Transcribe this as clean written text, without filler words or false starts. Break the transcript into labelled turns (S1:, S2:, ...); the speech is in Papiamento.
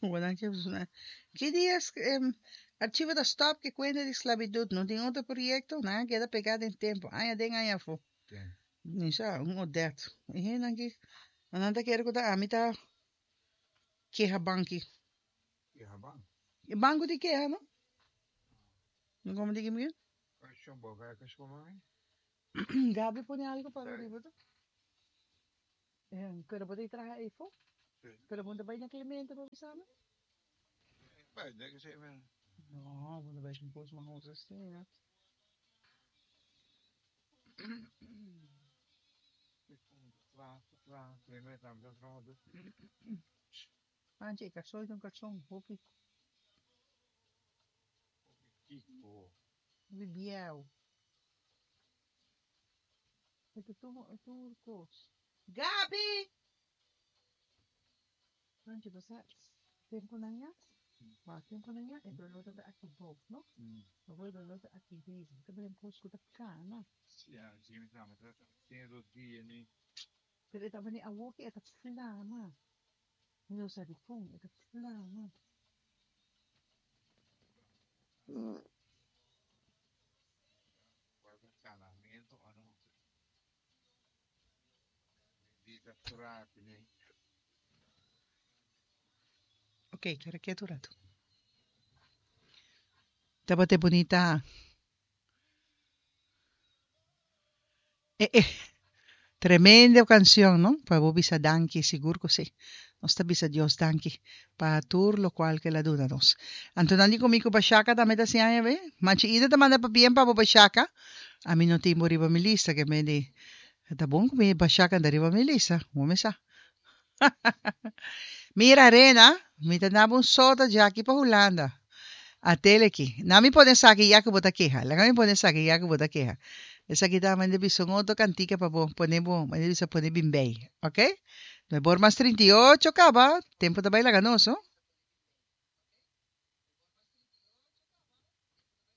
S1: Bo nan ke Ki dia archivo ta stop ku kuenta di sklabitut? No tin otro proyekto? Nan a keda pegá den tempu, aña den aña afó. Mi sa, un Odette. E hendenan ki, nan ta kere ku ta ami ta keha banki. E banko di keha, no? No komo di ki mi? Gabi pone algo para riba to. Pero bo ta traha eyfo? Pero bo no ta bay na Clemente pa bisa mi? No, bo no bay sin cos mahos asina. Panchi, e karson ta un karson hopi. Hopi bieu. E ta tur kos. Gabi! Panchi, bo sa tempunan ya? Wak tempunan ya e doló ta aki bou, no? Awor e doló ta aki riba. Ta bira un kos ku ta kana. Pero e ta bini awor ku e ta flama. Mi no sa dikon e ta flama. Ok, kere ketu un ratu. Tabata e bunita eh eh tremendo cancion no pa bo bisa danki sigur cu si nos ta bisa Dios danki pa tur locual cu el a duna nos. Anto nan di cu mi cu Bashaka tambe ta siña be Machi Ida ta manda pabien pa bo Bashaka ami no tin bo riba mi lista ke mi di ta bon cu mi Bashaka ta riba mi lista bo mi sa. Mira Rena, mi ta naba un sota djaki pa Hulanda. Atele aki. Na mi pone esaki ya ku bo ta keha. Laga mi pone esaki ya ku bo ta keha. Esaki ta mende bisa un otro kantika pa bo pone bo, mende bisa pone bimbei. Ok? Nuebor mas 38 kaba, tempo ta bai laga nos, no?